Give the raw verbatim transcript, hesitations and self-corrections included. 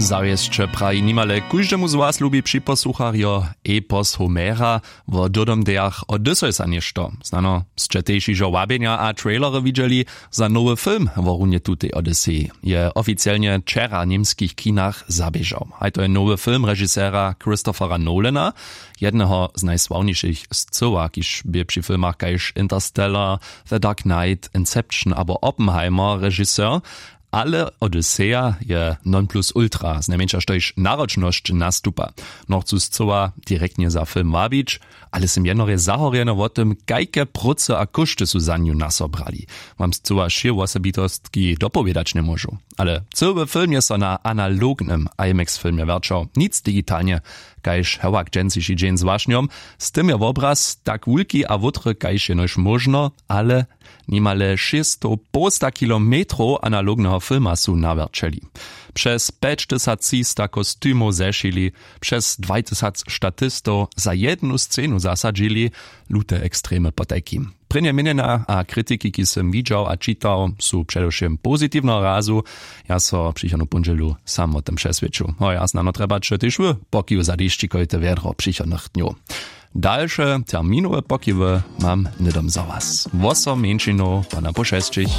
Zawěsće praji nimale kóždemu z was lubi připosłucharjo epos homera. Wo dyrdomdejach odysseysa něšto znano sće tež hižo wabjenja a trailery widźeli. Za nowy film wo runje tutej odysseji je oficielnje wčera w němskich kinach zaběžał. Haj to je nowy film režisera christophera nolana, jedneho z najsławnišich scyła kiž bě při filmach kaž interstellar, the dark knight, inception abo oppenheimer režiser. Ale odysseja je non plus ultra znajmjeńša štož naročnosć nastupa. Nochcu scyła direktnje za film wabić, ale sym jednorje zahorjeny wo tym kajke prócy a kóšty su za nju naso brali. Mam scyła wšě wosebitostki dopowědać njemóžu, ale cyły film je so na analognym imax filmje wjerćał nic digitalnje. Kaž hewak dźensiši dźeń z wašnjom, z tym je wobraz tak wulki a wótry kaž jenož móžno, ale nimale šěsćstow połsta kilometrow analogneho filma su nawjerćeli. Přez pjećtysac třista kostimow zešili, přez dwajtysac statistow za jednu scenu zasadźili. Lute ekstremy potajkim prěnje měnjena a kritiki kiž sym widźał a čitał su předewšěm pozitiwneho razu. Ja so přichodnu póndźelu sam wo tym přeswědčił. Hoj a znano trjebaće tež wy pokiw za dešćikojte wjedro přichodnych dnjow. Dalše terminowe pokiwy mam hnydom za was wosom mjeńšinow po na po šesćich.